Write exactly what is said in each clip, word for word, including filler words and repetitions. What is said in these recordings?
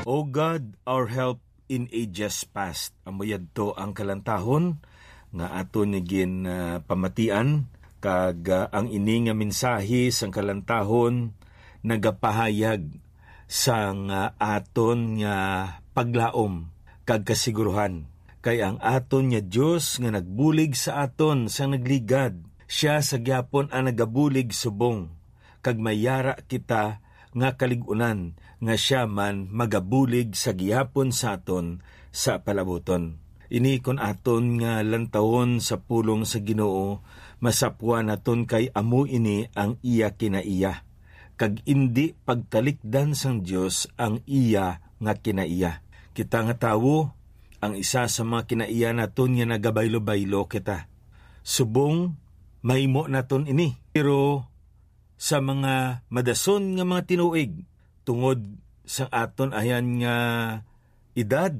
O God, our help in ages past. Amo yadto ang kalantahon nga aton ni gin, ah, pamatian, kag, ah, ang ini nga mensahe sang kalantahon nagapahayag sang, ah, aton nga paglaom kag kasiguruhan, kay ang aton nga Dios nga nagbulig sa aton sang nagligad, sia sa gihapon ang nagabulig subong, kag may yara kita nga kalig-unan nga sia man magabulig sa gihapon sa aton sa palabuton. Ini kon aton nga lantawon sa pulong sa Ginoo, masapwan naton kay amo ini ang iya kinaiya, kag indi pagtalikdan sang Dios ang iya nga kinaiya. Kita nga tawo, ang isa sa mga kinaiya naton nga nagabaylo-baylo kita. Subong mahimo naton ini, pero sa mga madason nga mga tinuig, tungod sa aton ayan nga edad,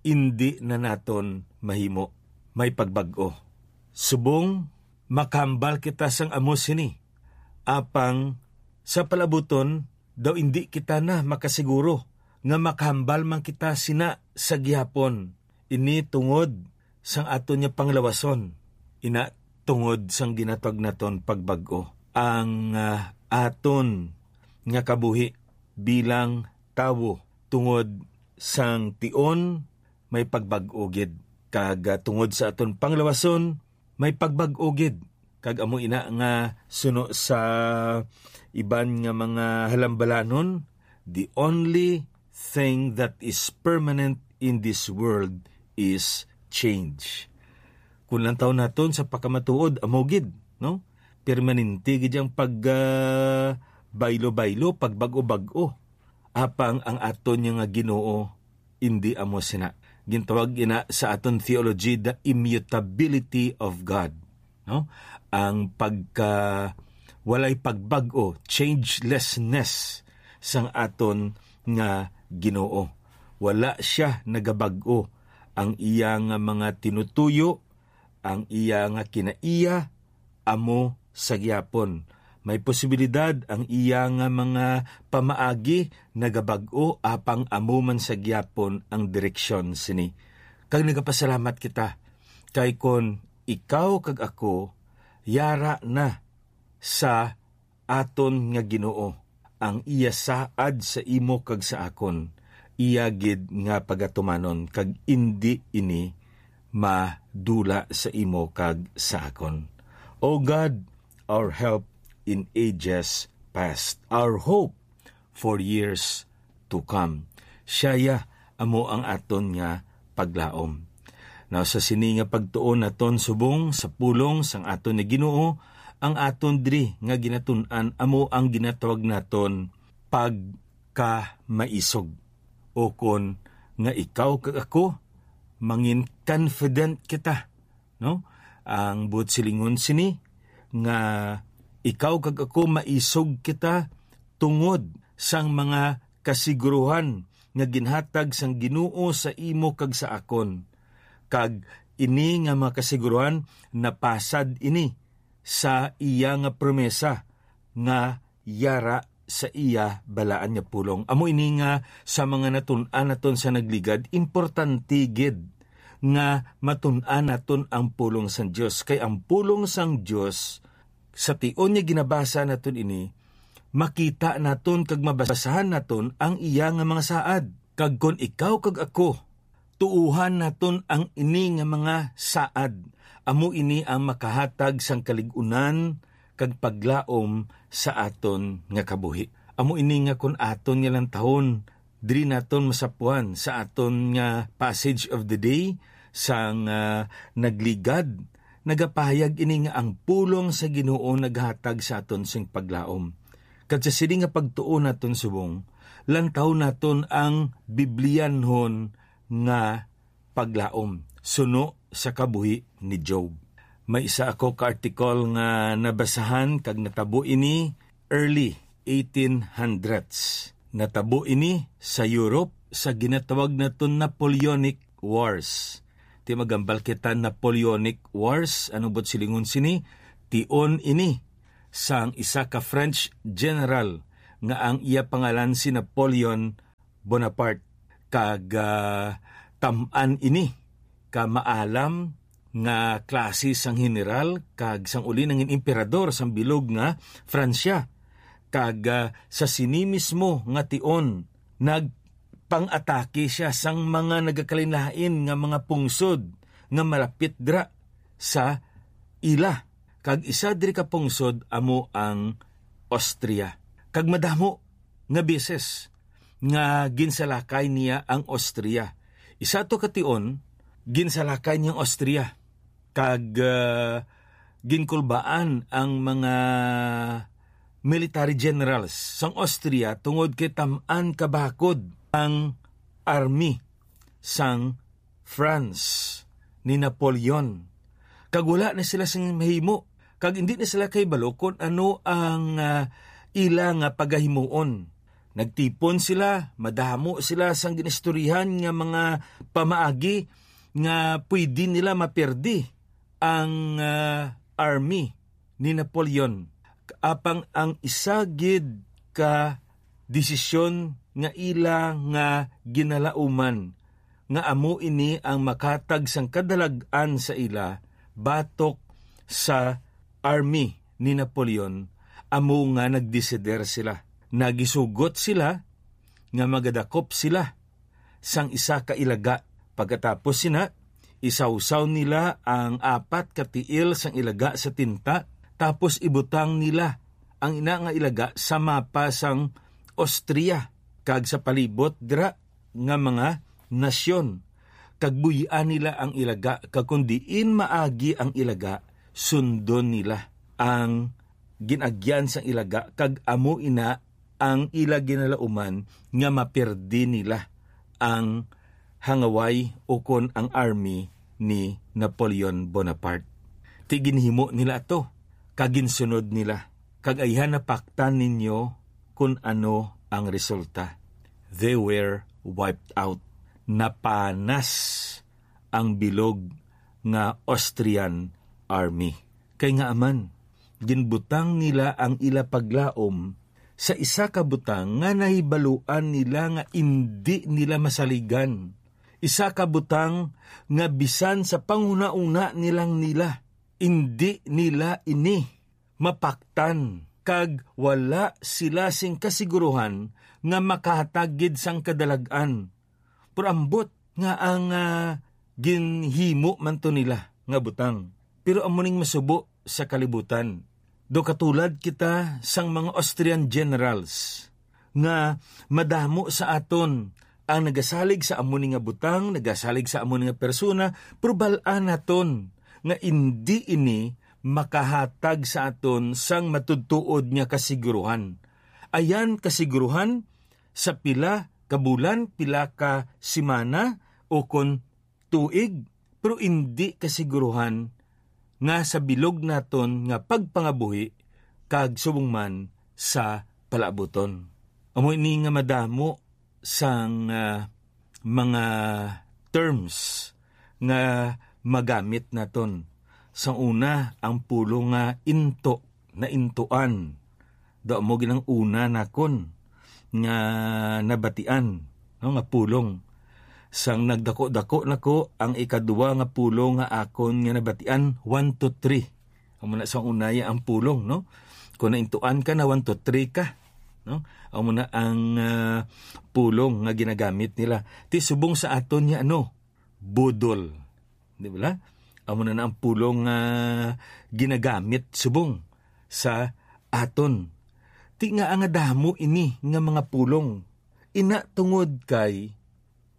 indi na naton mahimo. May pagbag-o. Subong makahambal kita sang amo sini, apang sa palabuton daw indi kita na makasiguro nga makahambal man kita sina sa gihapon. Ini tungod sang aton nga panglawason, ina tungod sang ginatawag naton pagbag-o. Ang, ah, aton nga kabuhi bilang tawo tungod sang tion may pagbag-o gid, kag, ah, tungod sa aton panglawason may pagbag-o gid. Kag amo ina nga suno sa iban nga mga halambalanon, the only thing that is permanent in this world is change. Kung lantaw naton sa pakamatuod, amo gid, no? Permanente gid ang pag, ah, baylo-baylo, pagbag-o-bag-o. Apang ang aton nga Ginoo, indi amo sina. Gintawag ina sa aton theology the immutability of God, no? Ang pagka walay pagbag-o, changelessness sang aton nga Ginoo. Wala sia nagabag-o. Ang iya nga mga tinutuyo, ang iya nga kinaiya, amo sa gihapon. May posibilidad ang iya nga mga pamaagi nagabag-o, apang amo man sa gihapon ang direksyon sini. Kag nagapasalamat kita, kay kon ikaw kag ako yara na sa aton nga Ginoo, ang iya saad sa imo kag sa akon, iya gid nga pagatumanon, kag indi ini madula sa imo kag sa akon. O God, our help in ages past, our hope for years to come. Siya ya amo ang aton nga paglaom. Now, sa sini nga pagtuon naton subong sa pulong sang aton nga Ginoo, ang aton diri nga ginatun-an amo ang ginatawag naton pagkamaisog, o kon nga ikaw kag ako mangin confident kita, no? Ang buot silingon sini nga ikaw kag ako maisog kita tungod sang mga kasiguruhan nga ginhatag sang Ginoo sa imo kag sa akon. Kag ini nga mga kasiguruhan napasad ini sa iya nga promesa nga yara sa iya balaan nga pulong. Amo ini nga sa mga natun-an naton sa nagligad, importante gid nga matun-an naton ang pulong sang Dios. Kay ang pulong sang Dios, sa tion nga ginabasa naton ini, makita naton kag mabasahan naton ang iya nga mga saad. Kag kon ikaw kag ako, tuohan naton ang ini nga mga saad. Amo ini ang makahatag sang kalig-unan kag paglaom sa aton nga kabuhi. Amo ini nga kon aton nga lantahon, diri naton masapuan sa aton nga passage of the day, sang, ah, nagligad, nagapahayag ini nga ang pulong sa Ginoo naghatag sa aton sing paglaom. Kag sa sini nga pagtuo naton subong, lantaw naton ang Biblianhon nga paglaom suno sa kabuhi ni Job. May isa ako ka article nga nabasahan kag natabo ini early eighteen hundreds. Natabo ini sa Europe sa ginatawag naton Napoleonic Wars. Ti magambal kita Napoleonic Wars, ano buot silingon sini? Tion ini sang isa ka French general nga ang iya pangalan si Napoleon Bonaparte. Kag, ah, tam-an ini ka maalam nga klase sang general kag sang uli nangin emperador sang bilog nga Francia. Kag, ah, sa sini mismo nga tion, nagpang-atake sia sang mga nagakalainlain nga mga pungsod nga malapit dira sa ila. Kag isa diri ka pungsod amo ang Austria. Kag madamo nga beses nga ginsalakay niya ang Austria. Isa to ka tion, ginsalakay niya ang Austria. Kag, ah, ginkulbaan ang mga military generals sang Austria tungod kay tam-an kabakod ang army sang France ni Napoleon. Kag wala na sila sing mahimo. Kag hindi na sila kahibalo kon ano ang, ah, ila nga pagahimuon. Nagtipon sila, madamo sila sang ginistoryahan nga mga pamaagi nga pwede nila maperdi ang, ah, army ni Napoleon. Apang ang isa gid ka desisyon nga ila nga ginalauman, nga amo ini ang makatag sang kadalag-an sa ila batok sa army ni Napoleon, amo nga nagdesider sila. Nagisugot sila nga magadakop sila sang isa ka ilaga. Pagkatapos sina, isawsaw nila ang apat ka tiil sang ilaga sa tinta, tapos ibutang nila ang ina nga ilaga sa mapa sang Austria kag sa palibot dira nga mga nasyon, kag buy-an nila ang ilaga, kag kon diin maagi ang ilaga, sundon nila ang gin-agyan sang ilaga, kag amo ina ang ila ginalauman nga maperdi nila ang hangaway ukon ang army ni Napoleon Bonaparte. Ti ginhimo nila ato, kag ginsunod nila, kag ayhan napaktan ninyo kon ano ang resulta. They were wiped out. Napanas ang bilog nga Austrian army. Kay ngaa man, ginbutang nila ang ila paglaom sa isa ka butang nga nahibaluan nila nga indi nila masaligan. Isa ka butang nga bisan sa panghunahuna nilang nila, indi nila ini mapaktan, kag wala sila sing kasiguruhan nga makahatag gid sang kadalag-an. Pero ambot nga ang, ah, ginhimo man to nila nga butang, pero amo ning masubo sa kalibutan. Do katulad kita sang mga Austrian generals nga madamo sa aton ang nagasalig sa amo ni nga butang, nagasalig sa amo ni nga persona, pero bal-an naton nga indi ini makahatag sa aton sang matudtuod nga kasiguruhan. Ayan kasiguruhan sa pila ka bulan, pila ka semana, o kon tuig, pero indi kasiguruhan nga sa bilog naton nga pagpangabuhi kag subong man sa palaabuton. Amo ini nga madamo sang, ah, mga terms nga magamit naton. Sa una, ang pulong nga into, naintuan. Daw mo ginang una nakon nga nabatian, no, nga pulong. Sang nagdako-dako nako, ang ikaduwa nga pulong nga akon nga nabatian, one, two, three. Amo na sa unaya ang pulong, no? Kung naintuan ka na, one, two, three ka, no? Amo na ang, ah, pulong nga ginagamit nila. Ti subong sa aton niya, ano? Budol. Di ba? Amo na na ang pulong nga ginagamit subong sa aton. Ti nga nga damo ini nga mga pulong. Ina tungod kay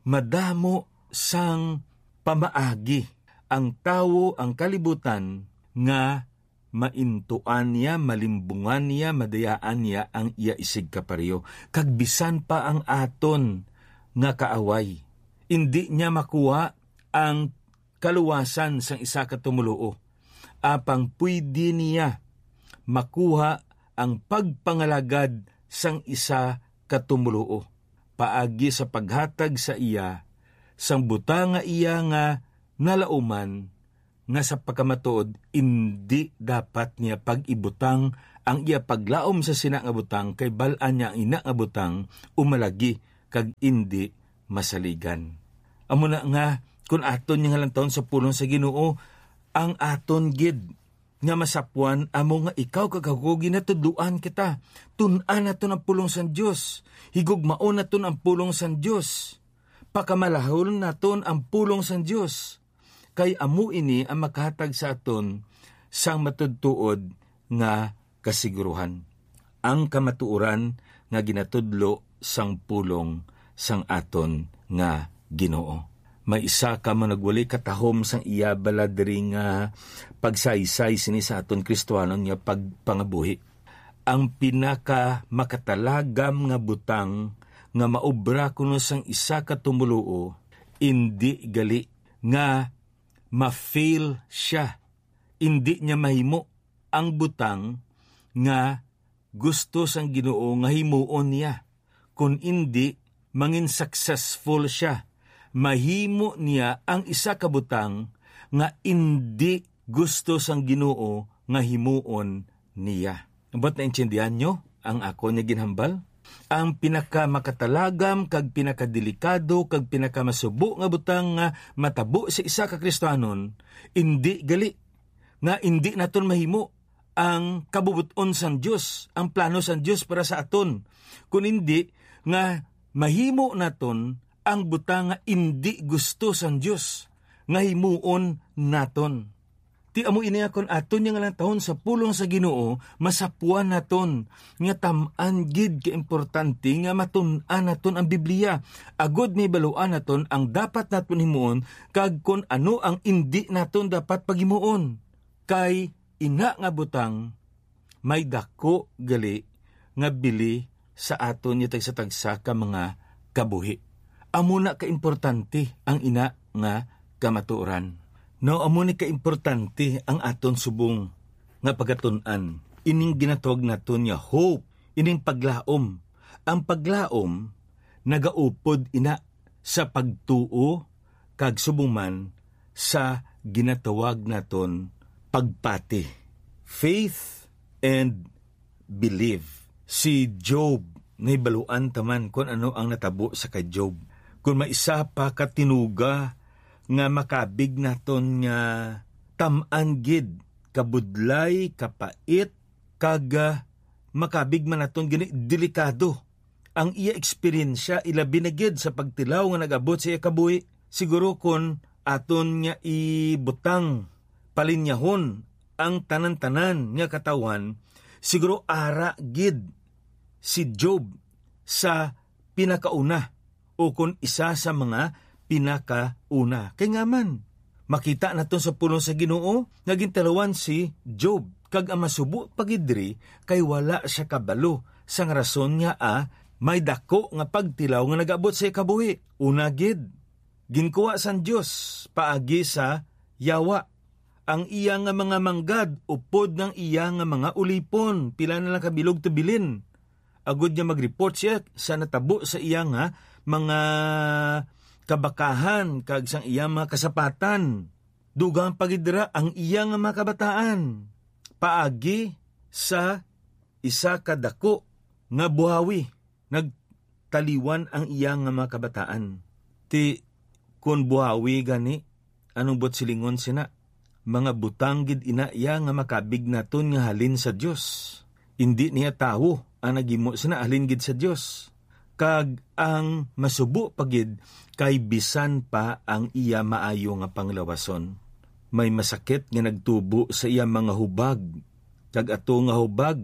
madamo sang pamaagi ang tawo, ang kalibutan, nga maintuan niya, malimbungan niya, madayaan niya ang iya isigkapareho. Kag bisan pa ang aton nga kaaway, indi niya makuha ang kaluwasan sang isa ka tumoluo. Apang pwede niya makuha ang pagpangalagad sang isa ka tumoluo paagi sa paghatag sa iya sang butang nga iya nga nalauman, nga sa pagkamatuod indi dapat niya pag-ibutang ang iya paglaom sa sina nga butang, kay bal-an niya ang ina nga butang umalagi kag indi masaligan. Amo na nga, kun aton nga halantawon sa pulong sa Ginoo, ang aton gid nga masapuan amo nga ikaw kag ako ginatudloan kita. Tun-an naton ang pulong sang Dios. Higugmaon naton ang pulong sang Dios. Pakamalahon naton ang pulong sang Dios. Kay amo ini ang makahatag sa aton sang matuod-tuod nga kasiguruhan, ang kamatuoran nga ginatudlo sang pulong sang aton nga Ginoo. May isa ka managwali katahom sang iya bala diri nga pagsaysay sini sa aton Kristiyanon nga pagpangabuhi. Ang pinaka makatalagam nga butang nga maobra kuno sang isa ka tumoluo, indi gali nga ma-fail sia, indi niya mahimo ang butang nga gusto sang Ginoo nga himuon niya, kun indi, mangin successful sia. Mahimo niya ang isa ka butang nga indi gusto sang Ginoo nga himuon niya. But naintindihan nyo ang ako nga ginhambal? Ang pinaka makatalagam kag pinakadelikado kag pinakamasubo nga butang nga matabo sa isa ka Kristiyanon, indi gali nga indi naton mahimo ang kabubot-on sang Dios, ang plano sang Dios para sa aton, kun indi nga mahimo naton ang butang nga indi gusto sang Dios nga himuon naton. Ti amo ini, akon aton nga halantawon sa pulong sa Ginoo, masapuan naton nga tam-an gid ka importante nga matun-an naton ang Biblia, agod mahibaluan naton ang dapat naton himuon kag kon ano ang indi naton dapat paghimuon. Kay ina nga butang may daku gali nga bili sa aton nga tagsa-tagsa ka mga kabuhi. Amo na kaimportante ang ina nga kamatuoran. No, amo ni kaimportante ang aton subong nga pagatun-an, ining ginatawag naton nga hope, ining paglaom. Ang paglaom nagaupod ina sa pagtuo kag subong man sa ginatawag naton pagpati. Faith and believe. Si Job, nahibaluan ta man kon ano ang natabo sa kay Job. Kon may isa pa ka tinuga nga makabig naton nga tam-an gid, kabudlay, kapait, kag, ah, makabig man naton gani delikado ang iya eksperyensya, ilabi na gid sa pagtilaw nga nag-abot sa iya kabuhi. Siguro kon aton nga ibutang, palinyahon ang tanan-tanan nga katawhan, siguro ara gid si Job sa pinakauna, o kon isa sa mga pinakauna. Kay nga man, makita naton sa pulong sa Ginoo nga gintilawan si Job, kag ang masubo pa gid diri kay wala sia kabalo sang rason nga, ah, may daku nga pagtilaw nga nag-abot sa iya kabuhi. Una gid, ginkuha sang Dios paagi sa yawa ang iya nga mga manggad upod nang iya nga mga ulipon, pila na lang ka bilog tubilin, agod nga mag-report sia sa natabo sa iya nga mga kabakahan kag sang iya mga kasapatan. Dugang pa gid dira ang iya nga mga kabataan paagi sa isa ka daku nga buhawi. Nagtaliwan ang iya nga mga kabataan. Ti, kon buhawi gani, anong buot silingon sina? Mga butang gid ina iya nga makabig naton nga halin sa Dios. Indi niya tawo ang naghimo sina, halin gid sa Dios. Kag ang masubo pa gid, kay bisan pa ang iya maayo nga panglawason, may masakit nga nagtubo sa iya mga hubag, kag ato nga hubag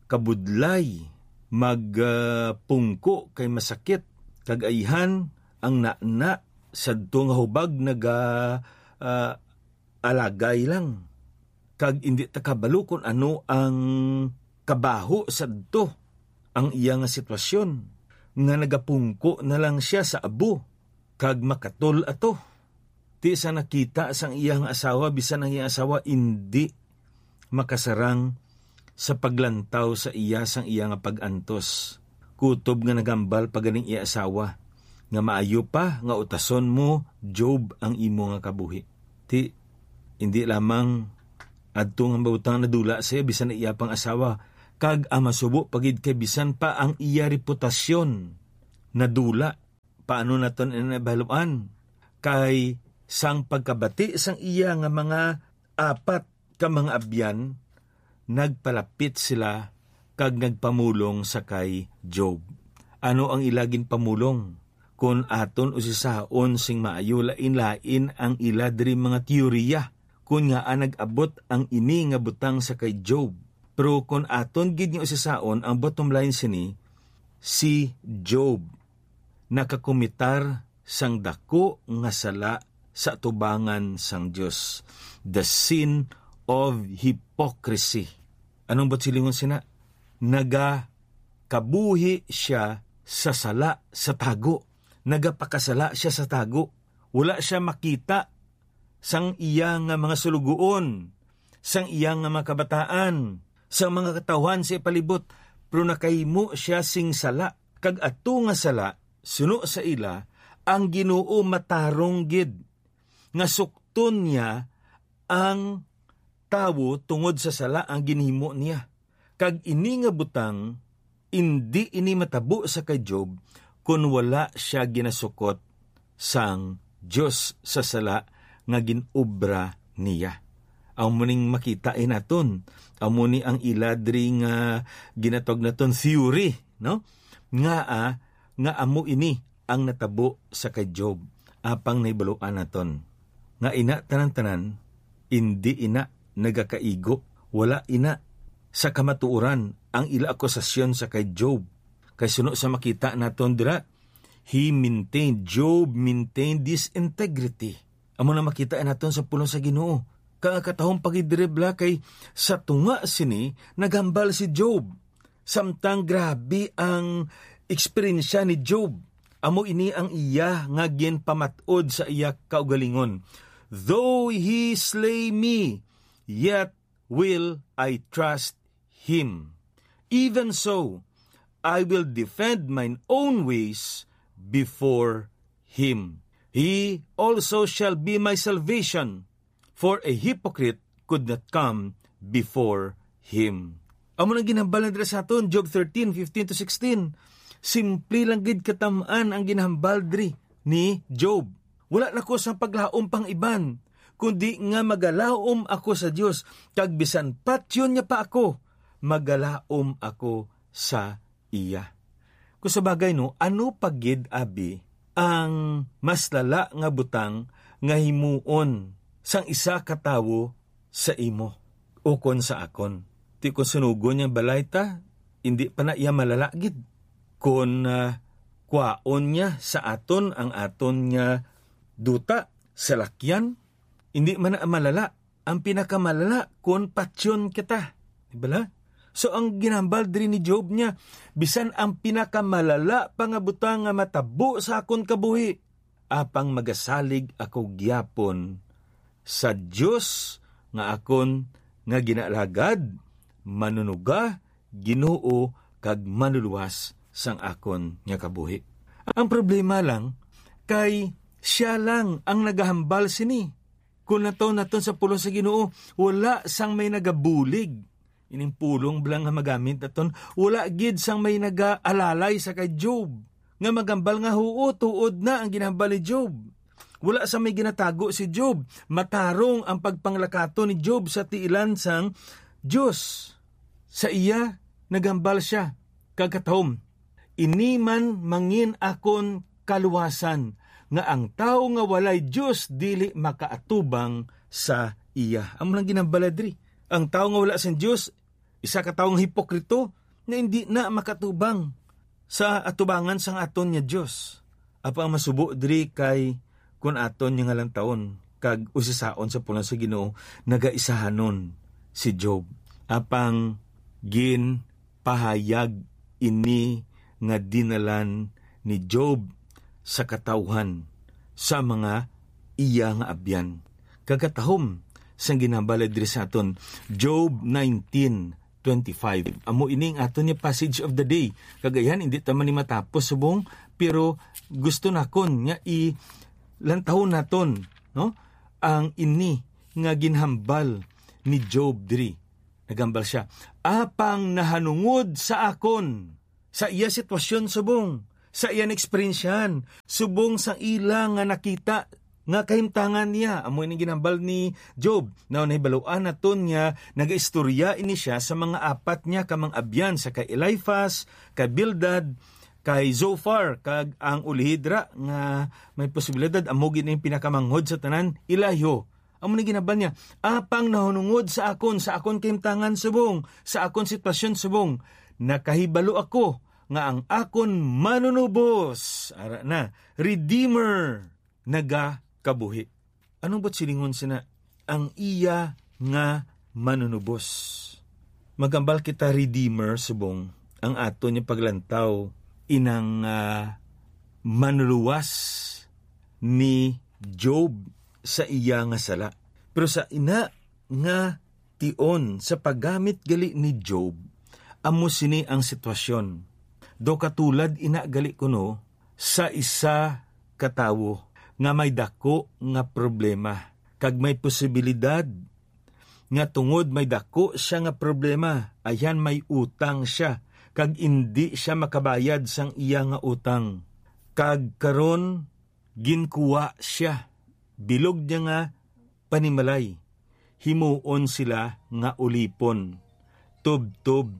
kabudlay, mag, ah, pungko kay masakit, kag ayhan ang nana sadto nga hubag naga, ah, alagay lang, kag indi ta kabalo kon ano ang kabaho sadto ang iya nga sitwasyon, nga nagapungko na lang sia sa abo kag makatol ato. Ti sa nakita sang iya nga asawa, bisan ang iya asawa indi makasarang sa paglantaw sa iya sang iya nga pag-antos. Kutob nga naghambal pa ganing iya asawa nga maayo pa nga utason mo, Job, ang imo nga kabuhi. Ti, indi lamang adto nga mabutang nadula siya, bisan ang iya pang asawa, kag ang masubo pa gid kay bisan pa ang iya reputasyon nadula. Paano naton ini nabaluan? Kay sang pagkabati sang iya nga mga apat ka mga abyan, nagpalapit sila kag nagpamulong sa kay Job. Ano ang ila ginpamulong? Kon aton usisaon sing maayo, lain-lain ang ila diri mga teorya kon ngaa nag-abot ang ini nga butang sa kay Job. Pero kon aton gid nga usisaon, ang bottom line sini, si Job nakakomitar sang daku nga sala sa atubangan sang Dios, the sin of hypocrisy. Anong buot silingon sina? Nagakabuhi sia sa sala sa tago. Nagapakasala sia sa tago. Wala sia makita sang iya nga mga sulugoon, sang iya nga mga kabataan, sang mga katawhan sa ipalibot, pero nakahimo sia sing sala, kag ato nga sala, suno sa ila, ang Ginoo matarong gid nga sukton niya ang tawo tungod sa sala ang ginhimo niya. Kag ini nga butang, indi ini matabo sa kay Job kon wala sia ginasukot sang Dios sa sala nga gin-obra niya. Amo ning makita naton, amo ni ang ila diri nga ginatawag naton theory, no? Nga, ah, nga amo ini ang natabo sa kay Job, apang nahibaluan naton nga ina tanan-tanan, indi ina nagakaigo, wala ina sa kamatuoran ang ila akusasyon sa kay Job. Kay suno sa makita naton dira, he maintained, Job maintained this integrity. Amo na makita naton sa pulong sa Ginoo. Kag ang katahom pagidribla kay sa tunga sini naghambal si Job. Samtang grabe ang eksperyensya ni Job, amo ini ang iya nga ginpamat-od sa iya kaugalingon, "Though he slay me, yet will I trust him. Even so, I will defend mine own ways before him. He also shall be my salvation, for a hypocrite could not come before him." Amo nang ginhambal na dira sa aton, Job thirteen fifteen to sixteen. Simple lang gid katam-an ang ginhambal diri ni Job. Wala na ko sang paglaom pang iban, kundi nga magalaom ako sa Dios, kag bisan patyon niya pa ako, magalaom ako sa iya. Kung sa bagay, no, ano pa gid, abi, ang mas lala nga butang nga himuon sang isa ka tawo sa imo ukon sa akon? Ti kon sunugon niya balay ta, indi pa na iya malala gid. Kon, ah, kwaon niya sa aton ang aton nga duta, salakyan, indi man na malala. Ang pinakamalala kon patyon kita. Di bala? So, ang ginhambal diri ni Job niya, "Bisan ang pinakamalala pa nga butang nga matabo sa akon kabuhi, apang magasalig ako gyapon sa Dios nga akon nga ginaalagad, Manunuga, Ginoo, kag Manlulowas sang akon nga kabuhi." Ang problema lang kay sia lang ang nagahambal sini. Kung nataw naton sa pulong sa Ginoo, wala sang may nagabulig. Ining pulong bala nga magamit naton, wala gid sang may nagaalalay sa kay Job nga magambal nga huo, tuod na ang ginahambal ni Job. Wala sang may ginatago si Job. Matarong ang pagpanglakaton ni Job sa tiilan sang Dios. Sa iya, nagambal sia, kag katahom, "Ini man mangin akon kaluwasan, nga ang tawo nga walay Dios dili makaatubang sa iya." Amo lang ginambal diri. Ang tawo nga wala sang Dios, isa ka tawo nga hipokrito, nga indi na makatubang sa atubangan sang aton nga Dios. Apan ang masubo diri kay kun aton nga lantawon kag usisaon sa pulong sa Ginoo, nagaisahanon si Job. Apang ginpahayag ini nga dinalan ni Job sa katawhan sa mga iya nga abyan. Kag katahom sang ginhambal diri sa aton, Job nineteen twenty-five. Amo ini ang aton nga passage of the day. Kag ayan, hindi ta man ni matapos subong, pero gusto nakon nga i-, lantawon naton, no? Ang ini nga ginhambal ni Job diri. Naghambal sia, "Apang nahanungod sa akon," sa iya sitwasyon subong, sa iyang eksperyensyahan, subong sang ila nga nakita nga kahimtangan niya. Amo ini ginhambal ni Job. Now, nahibaluan naton nga nagaistorya ini siya sa mga apat niya ka mga abyan, sa kay Eliphaz, kay Bildad, kay Zophar, kag ang ulihid ra nga may posibilidad amo gid ang pinakamanghod sa tanan, Elihu. Amo ni ginhambal niya, "Apang nahunungod sa akon, sa akon kahimtangan subong, sa akon sitwasyon subong, nakahibalo ako nga ang akon manunubos, ara na, Redeemer, nagakabuhi." Anong buot silingon sina ang iya nga manunubos? Maghambal kita, Redeemer, subong ang aton nga paglantaw, inang, ah, manluwas ni Job sa iya nga sala. Pero sa ina nga tion, sa paggamit gali ni Job, amo sini ang sitwasyon. Daw katulad ina gali kuno sa isa ka tawo nga may daku nga problema, kag may posibilidad nga tungod may daku sia nga problema, ayan, may utang sia, kag indi sia makabayad sang iya nga utang. Kag karon, ginkuha sia, bilog niya nga panimalay, himuon sila nga ulipon, tubtob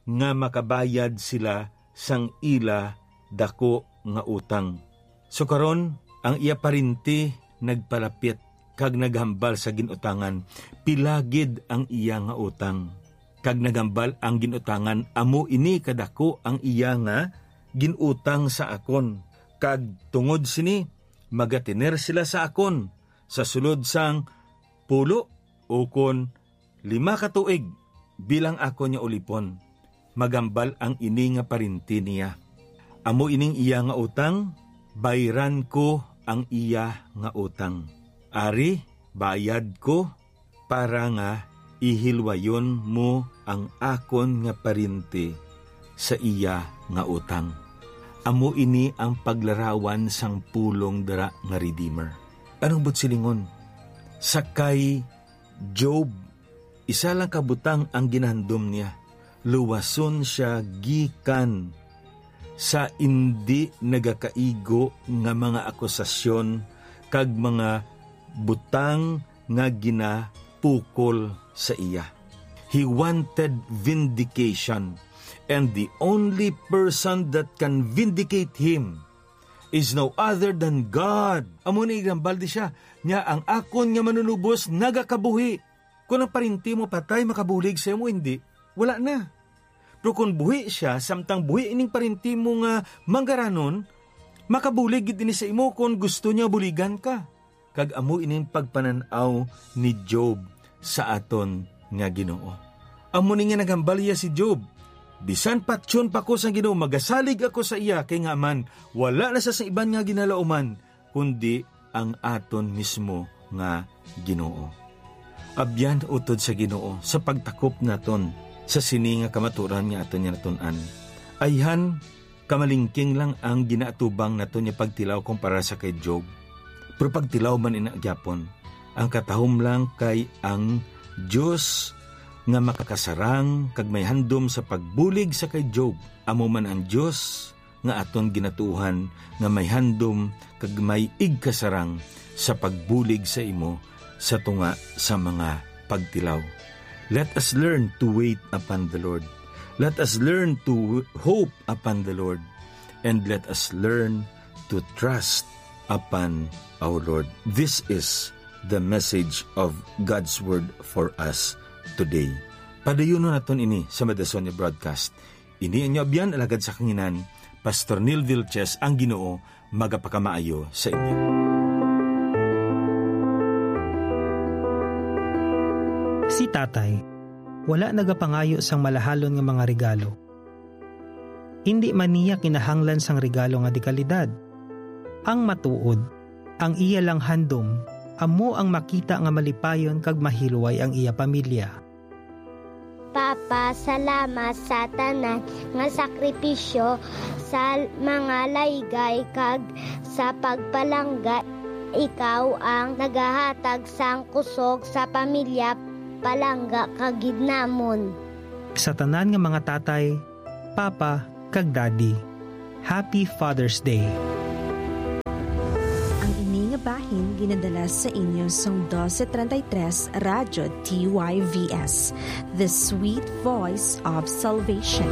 nga makabayad sila sang ila daku nga utang. So karon, ang iya parinti nagpalapit kag naghambal sa gin-utangan pila gid ang iya nga utang. Kag naghambal ang gin-utangan, "Amo ini kadako ang iya nga gin-utang sa akon, kag tungod sini, magatener sila sa akon sa sulod sang pulo ukon lima ka tuig bilang akon nga ulipon." Maghambal ang ini nga parinti niya, "Amo ining iya nga utang, bayran ko ang iya nga utang. Ari, bayad ko para nga ihilwayon mo ang akon nga parinti sa iya nga utang." Amo ini ang paglarawan sang pulong dira nga Redeemer. Anong buot silingon? Sa kay Job, isa lang ka butang ang ginahandom niya. Luwason sia gikan sa indi nagakaigo nga mga akusasyon kag mga butang nga ginapukol sa iya. He wanted vindication, and the only person that can vindicate him is no other than God. Amo ni, ginhambal di siya, niya, "Ang akon nga manunubos nagakabuhi." Kung ang parinti mo patay, makabulig sa imo, hindi, wala na. Pero kung buhi siya, samtang buhi ining parinti mo nga manggaranon, makabulig gid ini sa imo kung gusto niya buligan ka. Kag amo ining pagpanan-aw ni Job sa aton nga Ginoo. Amo ni nga naghambal iya si Job, "Bisan patyon pa ko sang Ginoo, magasalig ako sa iya, kay nga man, wala na sa, sa iban nga ginalauman, kundi ang aton mismo nga Ginoo." Abyan utod sa Ginoo sa pagtakop naton sa sini nga kamaturan nga aton nga natun-an. Ayhan, kamalingking lang ang ginaatubang naton nga pagtilaw kumpara sa kay Job. Pero pagtilaw man ina gyapon, ang katahom lang kay ang Dios nga makakasarang kag may handom sa pagbulig sa kay Job, amo man ang Dios nga aton ginatuohan nga may handom kag may igkasarang sa pagbulig sa imo sa tunga sa mga pagtilaw. Let us learn to wait upon the Lord. Let us learn to hope upon the Lord. And let us learn to trust upon our Lord. This is the message of God's word for us today. Padayunon naton ini sa Madason nga broadcast. Ini ang inyo abyan, alagad sa kanginan, Pastor Neil Vilches, ang Ginoo magapakamaayo sa inyo. Si Tatay, wala nagapangayo sang malahalon nga mga regalo. Indi man niya kinahanglan sang regalo nga dekalidad. Ang matuod, ang iya lang handom, amo ang makita nga malipayon kag mahilway ang iya pamilya. Papa, salamat sa tanan nga sakripisyo, sa mga laygay, kag sa pagpalangga. Ikaw ang nagahatag sang kusog sa pamilya, palangga ka gid namon. Sa tanan nga mga tatay, papa, kag daddy, Happy Father's Day. Ang ini nga bahin ginadala sa inyo sang dose treinta y tres Radyo D Y V S, the sweet voice of salvation.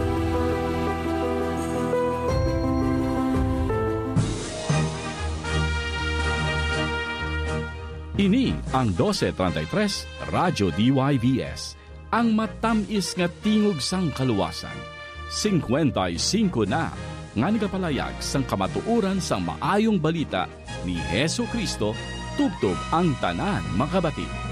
Ini ang dose treinta y tres Radyo D Y V S, ang matamis nga tingog sang kaluwasan. Singkwenta y singko na nga nagapalayag sang kamatuoran sang maayong balita ni Jesu-Cristo tubtob ang tanan makabati.